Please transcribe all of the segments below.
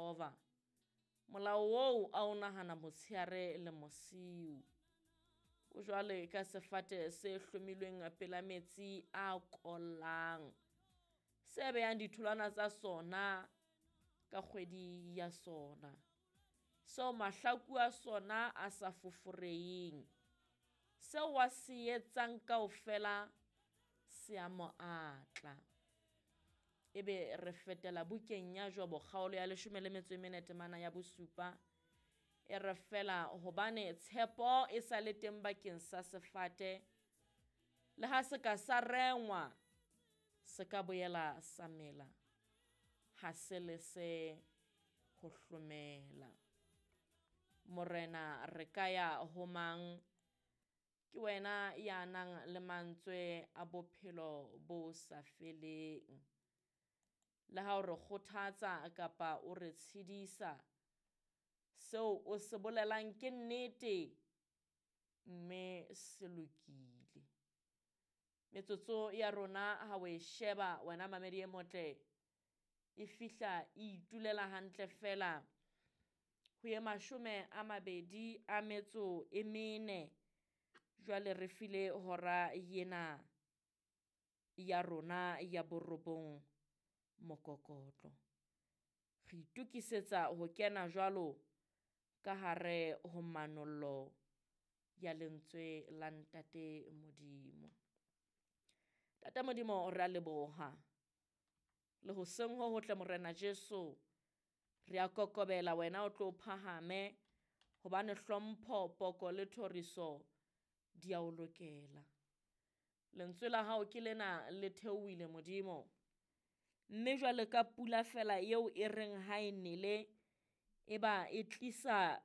Jehova. Molao oo a o nahana motsheare le mosiu. O jwale ka sefate se hlomilweng pela metsi a kollang, se behang ditholwana tsa sona ka kgwedi ya sona, seo mahlaku a sona a sa foforeheng. Seo a se etsang kaofela se a mo atla. Ebe re fetela bukeng ya Jobo kgaolo ya 14 temana ya 7, e re fela hobane tshepo e sa le teng bakeng sa sefate, le ha se ka sa rengwa, se ka boela sa mela, ha se le se ho hlomela. Morena, re ka ya ho mang? Ke wena ya nang le mantswe a bophelo bo sa feleng. Le ha o re kgothatsa kapa o re tshedisa, seo o se bolelang ke nnete, mme se lokile. Metsotso ya rona ha o e sheba, wena mamedi e motle, e fihla e itulela hantle fela ho ye 24. Jwale re file hora yena ya rona ya 9 mokokotlo. Re itokisetsa ho kena jwalo ka hare ho manollo ya lentswe la Ntate Modimo. Ntate Modimo, re a leboha. Le hoseng ho hotle Morena Jesu, re a kokobela wena o tlo phahame, hobane hlompho, poko le thoriso di a o lokela. Lentswe la hao ke lena le theohile Modimo, mme jwale ka pula fela eo e reng ha e nele, e ba e tlisa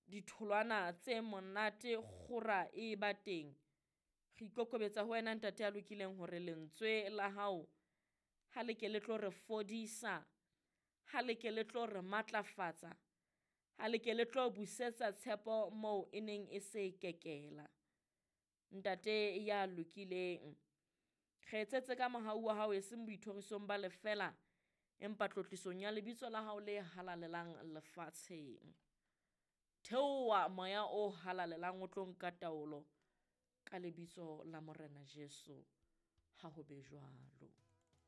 ditholwana tse monate, kgora e ba teng. Re ikokobetsa ho wena Ntate ya lokileng hore lentswe la hao ha le ke le tlo re fodisa, ha le ke le tlo re matlafatsa, ha le ke le tlo busetsa tshepo moo e neng e se kekela. Ntate ya lokileng, re etsetse ka mohau wa hao e seng boithorisong ba lefela, empa tlotlisong ya lebitso la hao le halalelang lefatsheng. Theoha moya o halalelang o tlo nka taolo ka lebitso la Morena Jesu. Ha ho be jwalo.